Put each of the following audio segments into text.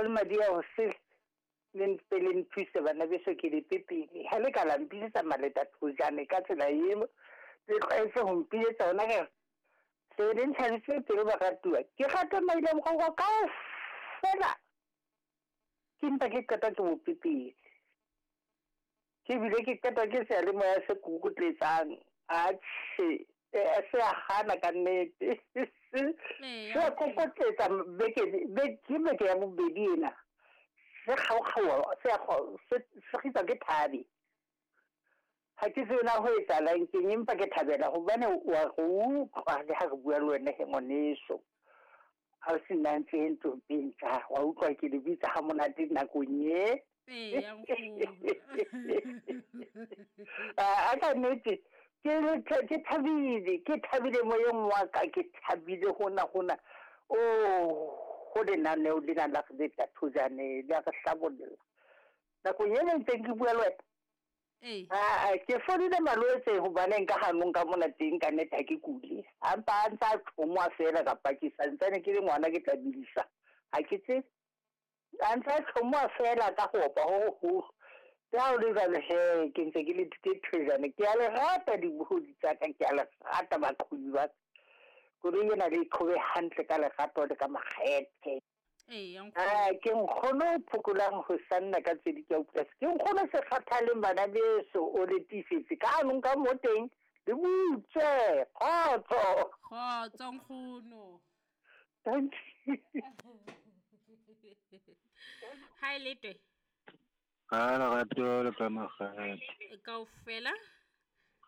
le madi a ho se le mpe le nthuse bana beso ke le pepele. Ha le ka la mpiletsa maleta thojane ka tsela eo le tlwaetse ho mpiletsa ona ke se le ntlhabise pelo baratuwa. Ke rata maile moroko kaofela. Ke mpa ke qeta ke bo pepele. Ke bile ke qeta ke seyalemoya se kukutletsang. Atjhe, se a hana ka nnete. Se a kokotletsa beke ke beke ya bobedi ena. Se kgaokgaoha, se se kgitswa ke thabe. Ha ke tsebe na ho etsahalang keng empa ke thabela hobane wa re utlwa le ha re bua le wena he ngwaneso. Ha o se nna ntse ntompeng tsa wa utlwa ke le bitsa ha monate nakong e. Eya nkgono. A ka nnete ke thabile, ke thabile moyeng wa ka, ke thabile hona hona. Oh, ho lenaneo lena la re letsa thojane le a re hlabolla. Nakong ena ntseng ke bua le wena. Ee. Ah, ke fodile malwetse hobaneng ka hanong ka mona teng ka nnete ha ke kule. A mpa a ntsa tlhomoa fela kapa ke santsane ke le ngwana ke tla bidisa. Ha ke tsebe. A ntsa tlhomoa fela ka ho opa ho hoholo. Le ha ho le jwalo he ke ntse ke le ke thojane. Ke a le rata dibohodi tsa ka, ke a le rata baqhobi ba ka. Koloi ena le e qhobe hantle ka lerato le ka makgethe. Eya nkgono. Ah, ke nkgono o phokolang ho sanna ka tsedi ke a utlwa. Ke nkgono se kgathaleng bana beso o le tiisetse ka hanong ka mo teng le butswe kgotso. Kgotso nkgono. Thank you. Hi Letwe. Ka lerato le ka makgethe. Kaofela.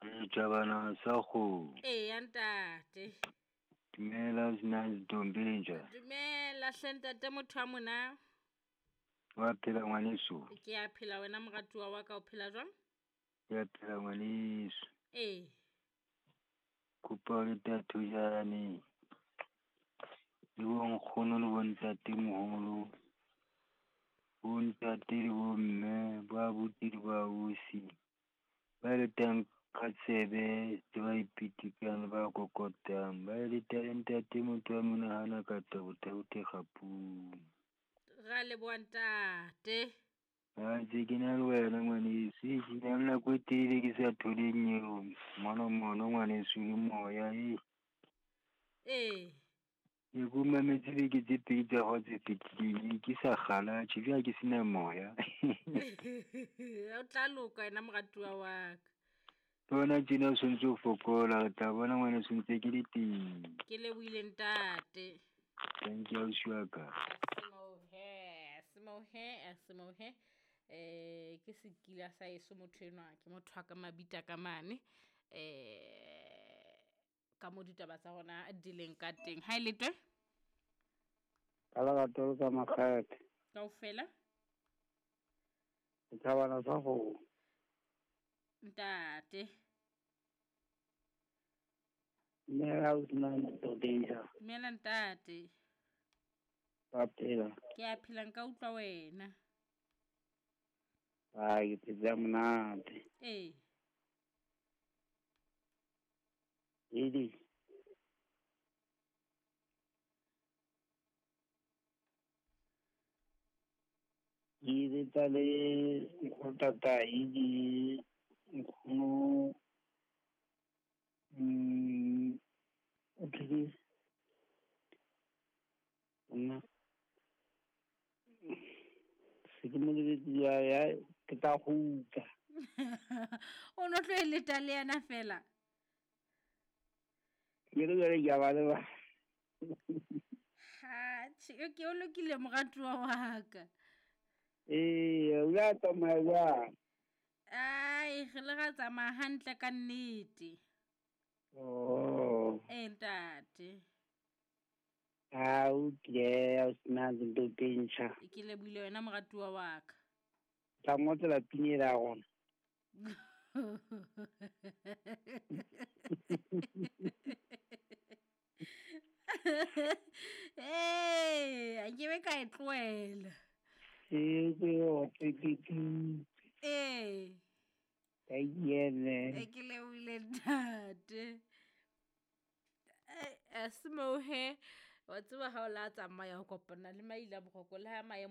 Re tjabana sa kgomo. Eya ntate. Dumela sena ntombinja. Dumela hle ntate motho wa mona. Wa phela ngwaneso. Ke a phela wena moratuwa wa ka o phela jwang? Ke a phela ngwaneso. Ee. Kopa le tathojane. Le bo nkgono le bo ntatemoholo. Bo ntate le bo mme, bo abuti le bo ausi. Ba letang ka tsebe le ba ipitikang le ba kokotang. Ba leta le ntate motho wa monahana ka tabo-tabo kgapung. Ra leboha ntate. Ha ntse ke na le wena ngwaneso. Ke na le nako e telele ke sa tholeng eo. Mono mono ngwaneso le moya e. Ee. Ke ko mametse beke tse pedi tsa hao tse fetileng ke sa kgala tjhe jwale ke sena moya. O tla loka wena moratuwa wa ka. Bona tjena o sontso o fokola, re tla bona ngwaneso ntse ke le teng. Ke lebohile ntate. Thank you ausi wa ka. Semohe, semohe, semohe. Ke sekila sa eso motho enwa, ke motho wa ka mabita ka mane. Ka mo ditaba tsa rona di leng ka teng. Ha e letwe? Ka lerato le ka makgethe. Kaofela? Setjhabana sa kgomo. Ntate. Dumela o sena ntobeja. Dumela ntate. Ba phela. Ke a phela nka utlwa wena. Ba ke phetse ha monate. Ee. Edi. Ke letsa le nkgotatai le nkgono o thwe nna se ke mo lebetse ya ke tla kgutla. O no tlo e leta le yena fela. Ke re jwale ke a ba lebala. Ha, tjhe, ke o lokile moratuwa wa ka. Ee, o la tsamaya jwang? Ai, re le ra tsamaya hantle ka nnete. Oh. Ee, ntate. Ha o tle, o sena dintho tse ntjha. Ke lebohile wena moratuwa wa ka. Tla ngotsela pina ela ya rona. Ee, a ke be ka e tlohela. Ee, ke Ee. Ka yene. E ke lebohile ntate. Semohe, wa tseba ha o la tsamaya ho kopana le maila boroko le ha maemo